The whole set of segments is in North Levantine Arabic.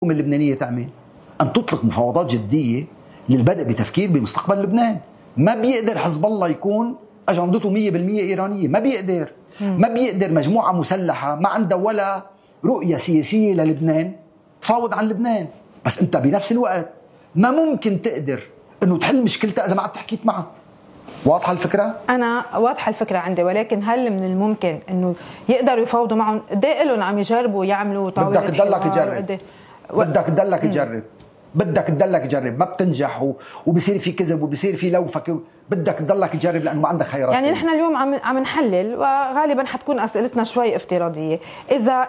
اللبنانية تعمل أن تطلق مفاوضات جدية للبدء بتفكير بمستقبل لبنان. ما بيقدر حزب الله يكون أجندته 100% إيرانية، ما بيقدر. ما بيقدر مجموعة مسلحة ما عندها ولا رؤية سياسية للبنان تفاوض عن لبنان. بس أنت بنفس الوقت ما ممكن تقدر أنه تحل مشكلتها إذا ما عاد تحكيت معها. واضحة الفكرة؟ أنا واضحة الفكرة عندي، ولكن هل من الممكن أنه يقدروا يفاوضوا معهم؟ قد ايه لهم عم يجربوا يعملوا طاولة بدك تضلك تجرب، بدك تضلك تجرب، بدك تضلك تجرب، ما بتنجح وبصير في كذب وبصير في لوفك، بدك تضلك تجرب لأنه ما عندك خيارات. يعني نحن اليوم عم نحلل، وغالبا حتكون أسئلتنا شوي افتراضية.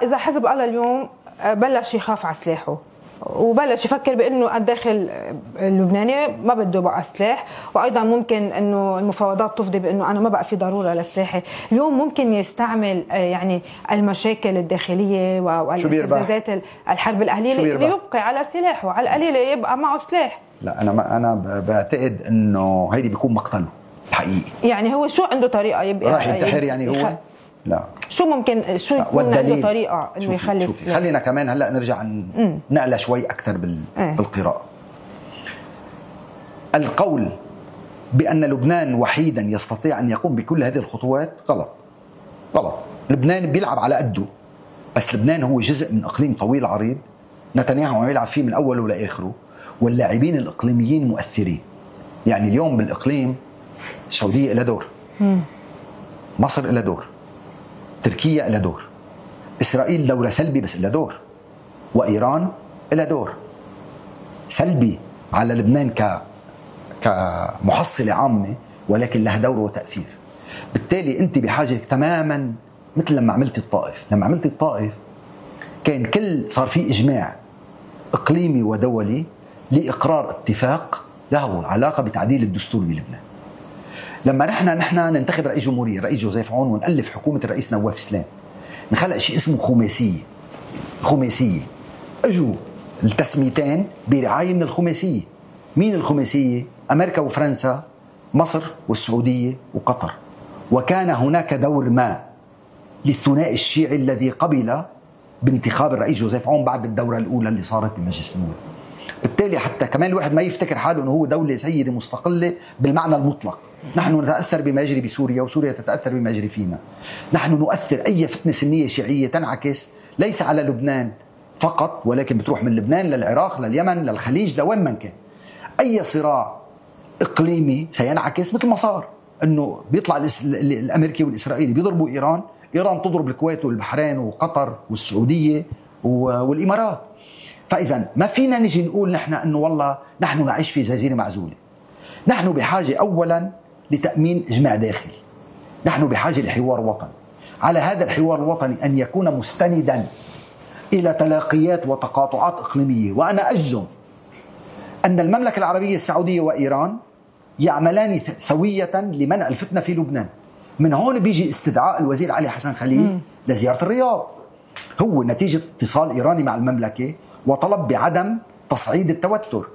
إذا حزب الله اليوم بلش يخاف على سلاحه وبلش يفكر بأنه الداخل اللبناني ما بده بقى سلاح، وأيضا ممكن أنه المفاوضات تفضي بأنه أنا ما بقى في ضرورة لسلاحي، اليوم ممكن يستعمل يعني المشاكل الداخلية والاستفزازات الحرب الأهلية ليبقي على سلاحه، على القليلة يبقى معه سلاح. لا أنا بعتقد أنه هيدي بيكون مقتله الحقيقي. يعني هو شو عنده طريقة يبقى راح ينتحر يعني هو؟ لا، شو ممكن شو يكون عنده طريقة انه يخلي خلينا كمان هلا نرجع نعلى شوي اكثر بالقراءة. القول بأن لبنان وحيدا يستطيع ان يقوم بكل هذه الخطوات غلط. لبنان بيلعب على قده، بس لبنان هو جزء من اقليم طويل عريض نتنياهو عم يلعب فيه من اوله لاخره، واللاعبين الاقليميين مؤثرين. يعني اليوم بالاقليم السعودية لها دور، مصر لها دور، تركيا لها دور، إسرائيل دورة سلبي بس لها دور، وإيران لها دور سلبي على لبنان كمحصلة عامة، ولكن لها دور وتأثير. بالتالي أنت بحاجة تماما مثل لما عملت الطائف كان صار في إجماع إقليمي ودولي لإقرار اتفاق له علاقة بتعديل الدستور بلبنان. لما نحن ننتخب رئيس جمهورية الرئيس جوزيف عون ونألف حكومة الرئيس نواف سلام، نخلق شيء اسمه خماسية. اجوا التسميتين برعاية من الخماسية. مين الخماسية؟ أمريكا وفرنسا، مصر والسعودية وقطر. وكان هناك دور ما للثنائي الشيعي الذي قبل بانتخاب الرئيس جوزيف عون بعد الدورة الأولى اللي صارت بمجلس النواب. بالتالي حتى كمان الواحد ما يفتكر حاله أنه هو دولة سيدة مستقلة بالمعنى المطلق. نحن نتأثر بما يجري بسوريا وسوريا تتأثر بما يجري فينا. نحن نؤثر أي فتنة سنية شيعية تنعكس ليس على لبنان فقط، ولكن بتروح من لبنان للعراق لليمن للخليج لوين من كان. أي صراع إقليمي سينعكس مثل ما صار أنه بيطلع الأمريكي والإسرائيلي بيضربوا إيران تضرب الكويت والبحرين وقطر والسعودية والإمارات. فإذا ما فينا نجي نقول نحن أنه والله نحن نعيش في جزيرة معزولة. نحن بحاجة أولا لتأمين إجماع داخلي، نحن بحاجة لحوار وطني. على هذا الحوار الوطني أن يكون مستندا إلى تلاقيات وتقاطعات إقليمية. وأنا أجزم أن المملكة العربية السعودية وإيران يعملان سوية لمنع الفتنة في لبنان. من هون بيجي استدعاء الوزير علي حسن خليل لزيارة الرياض، هو نتيجة اتصال إيراني مع المملكة وطلب بعدم تصعيد التوتر.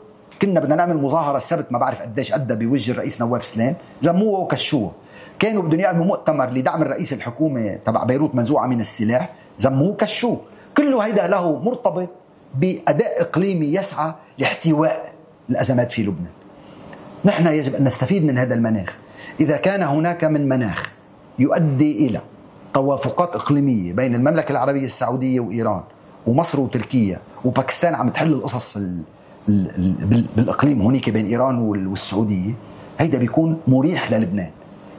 كنا بدنا نعمل مظاهرة السبت ما بعرف قديش أدى بوجه الرئيس نواف سلام، زموه وكشوه. كانوا بدهم يعملوا مؤتمر لدعم الرئيس الحكومة تبع بيروت منزوعة من السلاح، زموه وكشوه. كله هيدا له مرتبط بأداء إقليمي يسعى لاحتواء الأزمات في لبنان. نحن يجب أن نستفيد من هذا المناخ. إذا كان هناك من مناخ يؤدي إلى توافقات إقليمية بين المملكة العربية السعودية وإيران ومصر وتركيا وباكستان عم تحل القصص بالإقليم هونيك بين إيران والسعودية، هيدا بيكون مريح للبنان.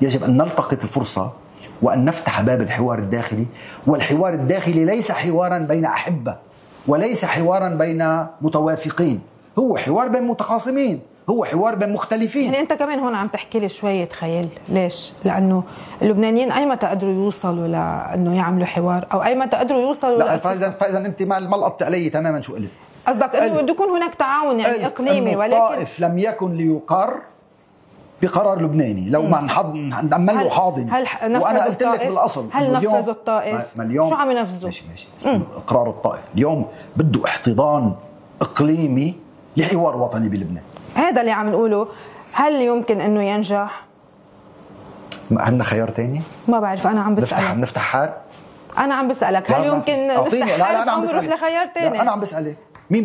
يجب أن نلتقط الفرصة وأن نفتح باب الحوار الداخلي. والحوار الداخلي ليس حوارا بين أحبة وليس حوارا بين متوافقين، هو حوار بين متخاصمين، هو حوار بين مختلفين. يعني أنت كمان هون عم تحكي لي شوية خيال. ليش؟ لأنه اللبنانيين أي متى قدروا يوصلوا لأنه يعملوا حوار، أو أي متى قدروا يوصلوا لا فإذا أنت ما لقطت علي تماما شو قلت. قصدك أنه بده يكون هناك تعاون يعني إقليمي، ولكن الطائف لم يكن ليقر بقرار لبناني لو ما نعمل له حاضن. وأنا قلت لك بالأصل هل نفذوا الطائف؟ شو عم ينفذوا؟ ماشي. إقرار الطائف اليوم بده احتضان إقليمي لحوار وطني بلبنان. هذا اللي عم نقوله. هل يمكن أنه ينجح؟ عندنا خيار تاني؟ ما بعرف، أنا عم بسألك. نفتح حار؟ أنا عم بسألك هل يمكن نفتح حار أو نروح لخيار تاني؟ لا أنا عم بسألك. مين بده